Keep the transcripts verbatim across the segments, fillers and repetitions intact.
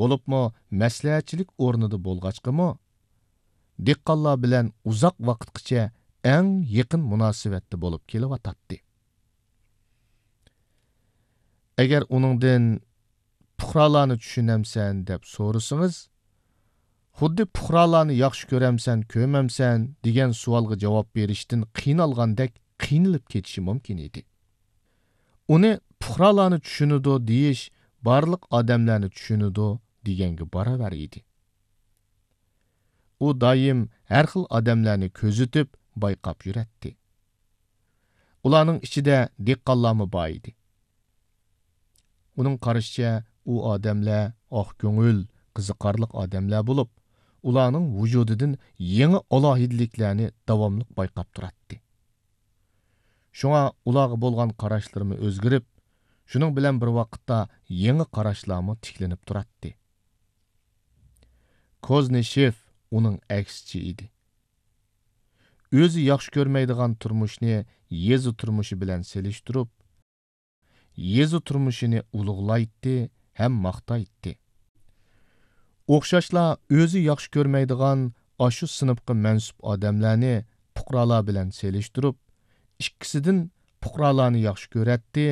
بولۇپمۇ مەسلىھەتچىلىك ئورنىدا بولغاچقىمۇ، دېھقانلار بىلەن ئۇزاق ۋاقىتقىچە ئەڭ يېقىن مۇناسىۋەتتە بولۇپ كېلىۋاتاتتى. ئەگەر ئۇنىڭدىن «پۇقرالارنى چۈشىنەمسەن؟» دەپ سورىسىڭىز، خۇددى «پۇقرالارنى ياخشى كۆرەمسەن، كۆرمەمسەن؟» دېگەن سوئالغا جاۋاب بېرىشتىن قىينالغاندەك قىينىلىپ كېتىشى مۇمكىن ئىدى. ئۇنى «پۇقرالارنى چۈشىنىدۇ» دېيىش بارلىق ئادەملەرنى چۈشىنىدۇ دېگەنگە باراۋەر ئىدى. ئۇ دائىم ھەر خىل ئادەملەرنى كۆزىتىپ، بايقاپ يۈرەتتى. ئۇلارنىڭ ئىچىدە دېھقانلارمۇ بار ئىدى. ئۇنىڭ قارىشىچە، ئۇ ئادەملەر ئاق كۆڭۈل، قىزىقارلىق ئادەملەر بولۇپ، ئۇلارنىڭ ۋۇجۇدىدىن يېڭى ئالاھىدىلىكلەرنى داۋاملىق بايقاپ تۇراتتى. شۇڭا ئۇلارغا بولغان قاراشلىرىمۇ ئۆزگىرىپ، شۇنىڭ بىلەن بىر ۋاقىتتا يېڭى قاراشلارمۇ تىكلىنىپ تۇراتتى. كوزنىشېف ئۇنىڭ ئەكسىچە ئىدى. ئۆزى ياخشى كۆرمەيدىغان تۇرمۇشنى يېزا تۇرمۇشى بىلەن سېلىشتۇرۇپ، يېزا تۇرمۇشىنى ئۇلۇغلايتتى ھەم ماختايتتى. ئوخشاشلا ئۆزى ياخشى كۆرمەيدىغان ئاشۇ سىنىپقا مەنسۇپ ئادەملەرنى پۇقرالار بىلەن سېلىشتۇرۇپ، ئىككىسىدىن پۇقرالارنى ياخشى كۆرەتتى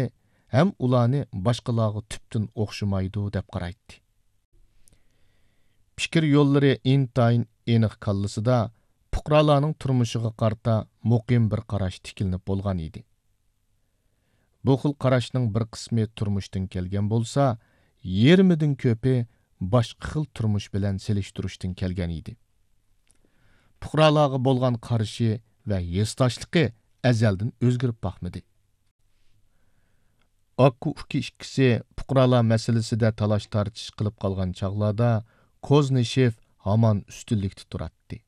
ھەم ئۇلارنى باشقىلارغا تۈپتىن ئوخشىمايدۇ دەپ قارايتتى. پىكىر يوللىرى ئىنتايىن ئېنىق كاللىسىدا پۇقرالارنىڭ تۇرمۇشىغا قارىتا مۇقىم بىر قاراش تىكلىنىپ بولغان ئىدى. بۇ خىل قاراشنىڭ بىر قىسمى تۇرمۇشتىن كەلگەن بولسا، يېرىمىدىن كۆپى باشقا خىل تۇرمۇش بىلەن سېلىشتۇرۇشتىن كەلگەن ئىدى. پۇقرالارغا بولغان قارىشى ۋە ھېسداشلىقى ئەزەلدىن ئۆزگىرىپ باقمىدى. ئاكا-ئۇكا ئىككىسى پۇقرالار مەسىلىسىدە تالاش-تارتىش قىلىپ قالغان چاغلاردا كوزنىشېف ھامان ئۈستۈنلۈكتە تۇراتتى.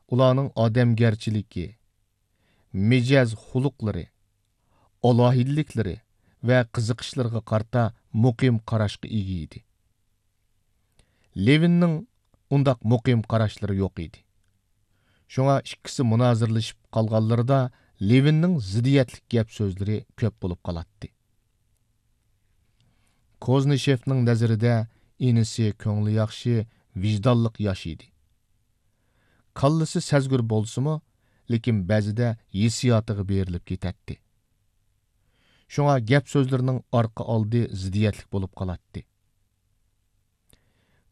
ئۇلارنىڭ ئادەمگەرچىلىكى، مىجەز-خۇلقلىرى، ئالاھىدىلىكلىرى ۋە قىزىقىشلىرىغا قارىتا مۇقىم قاراشقا ئىگە ئىدى. لېۋىننىڭ ئۇنداق مۇقىم قاراشلىرى يوق ئىدى. شۇڭا ئىككىسى مۇنازىرىلىشىپ قالغانلىرىدا لېۋىننىڭ زىددىيەتلىك گەپ-سۆزلىرى كۆپ بولۇپ قالاتتى. كوزنىشېفنىڭ نەزىرىدە ئىنىسى كۆڭلى ياخشى، ۋىجدانلىق ياش ئىدى. كاللىسى سەزگۈر بولسىمۇ، لېكىن بەزىدە ھېسسىياتىغا بېرىلىپ كېتەتتى. شۇڭا گەپ-سۆزلىرىنىڭ ئارقا-ئالدى زىددىيەتلىك بولۇپ قالاتتى.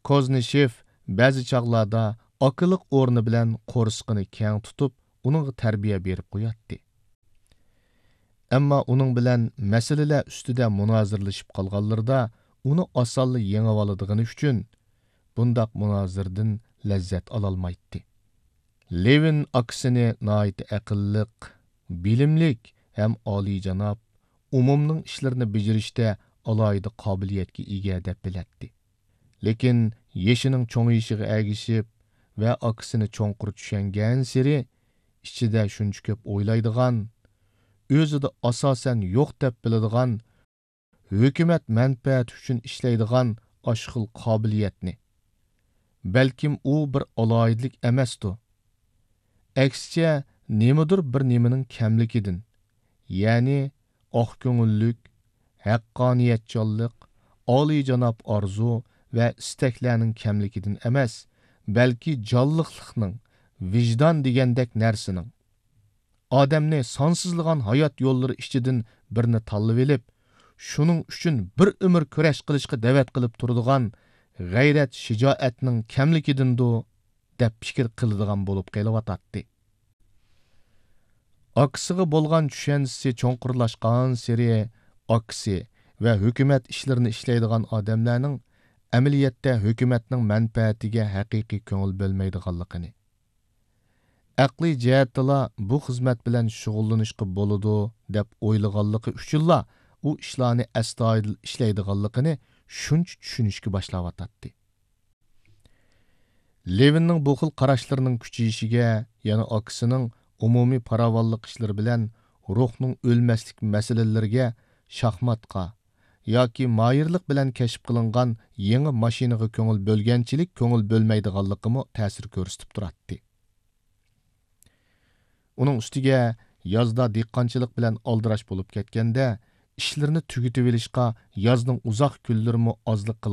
كوزنىشېف بەزى چاغلاردا ئاكىلىق ئورنى بىلەن قورسىقىنى كەڭ تۇتۇپ، ئۇنىڭغا تەربىيە بېرىپ قوياتتى. ئەمما ئۇنىڭ بىلەن مەسىلىلەر ئۈستىدە مۇنازىرىلىشىپ قالغانلىرىدا ئۇنى ئاسانلا يېڭىۋالىدىغىنى ئۈچۈن بۇنداق مۇنازىرىدىن لەززەت ئالالمايتتى. لېۋىن ئاكىسىنى ناھايىتى ئەقىللىق، بىلىملىك ھەم ئالىيجاناب، ئومۇمنىڭ ئىشلىرىنى بېجىرىشتە ئالاھىدە قابىلىيەتكە ئىگە دەپ بىلەتتى. لېكىن يېشىنىڭ چوڭىيىشىغا ئەگىشىپ ۋە ئاكىسىنى چوڭقۇر چۈشەنگەنسېرى، ئىچىدە شۇنچە كۆپ ئويلايدىغان، ئۆزىدە ئاساسەن يوق دەپ بىلىدىغان، ھۆكۈمەت مەنپەئەتى ئۈچۈن ئىشلەيدىغان ئاشۇ خىل قابىلىيەتنى، بەلكىم ئۇ بىر ئالاھىدىلىك ئەمەستۇ، ئەكسىچە نېمىدۇر بىر نېمىنىڭ كەملىكىدىن، يەنى ئاق كۆڭۈللۈك، ھەققانىيەتچانلىق، ئالىيجاناب ئارزۇ ۋە ئىستەكلەرنىڭ كەملىكىدىن ئەمەس، بەلكى جانلىقلىقنىڭ، ۋىجدان دېگەندەك نەرسىنىڭ، ئادەمنى سانسىزلىغان ھايات يوللىرى ئىچىدىن بىرنى تاللىۋېلىپ، شۇنىڭ ئۈچۈن بىر ئۆمۈر كۈرەش قىلىشقا دەۋەت قىلىپ تۇرىدىغان غەيرەت-شىجائەتنىڭ كەملىكىدىندۇ، دەپ پىكىر قىلىدىغان بولۇپ قېلىۋاتاتتى. ئاكىسىغا بولغان چۈشەنچىسى چوڭقۇرلاشقانسېرى، ئاكىسى ۋە ھۆكۈمەت ئىشلىرىنى ئىشلەيدىغان ئادەملەرنىڭ ئەمەلىيەتتە ھۆكۈمەتنىڭ مەنپەئەتىگە ھەقىقىي كۆڭۈل بۆلمەيدىغانلىقىنى، ئەقلىي جەھەتتىلا بۇ خىزمەت بىلەن شۇغۇللىنىشقا بولىدۇ، دەپ ئويلىغانلىقى ئۈچۈنلا ئۇ ئىشلارنى ئەستايىدىل ئىشلەيدىغانلىقىنى شۇنچە چۈشىنىشكە باشلاۋاتاتتى. لېۋىننىڭ بۇ خىل قاراشلىرىنىڭ كۈچىيىشىگە يەنە ئاكىسىنىڭ ئومۇمىي پاراۋانلىق ئىشلىرى بىلەن روھنىڭ ئۆلمەسلىك مەسىلىلىرىگە، شاھماتقا ياكى ماھىرلىق بىلەن كەشىپ قىلىنغان يېڭى ماشىنىغا كۆڭۈل بۆلگەنچىلىك كۆڭۈل بۆلمەيدىغانلىقىمۇ تەسىر كۆرسىتىپ تۇراتتى. ئۇنىڭ ئۈستىگە يازدا دېھقانچىلىق بىلەن ئالدىراش بولۇپ كەتكەندە، ئىشلىرىنى تۈگىتىۋېلىشقا يازنىڭ ئۇزاق كۈنلىرىمۇ ئازلىق قىلىۋاتاتتى.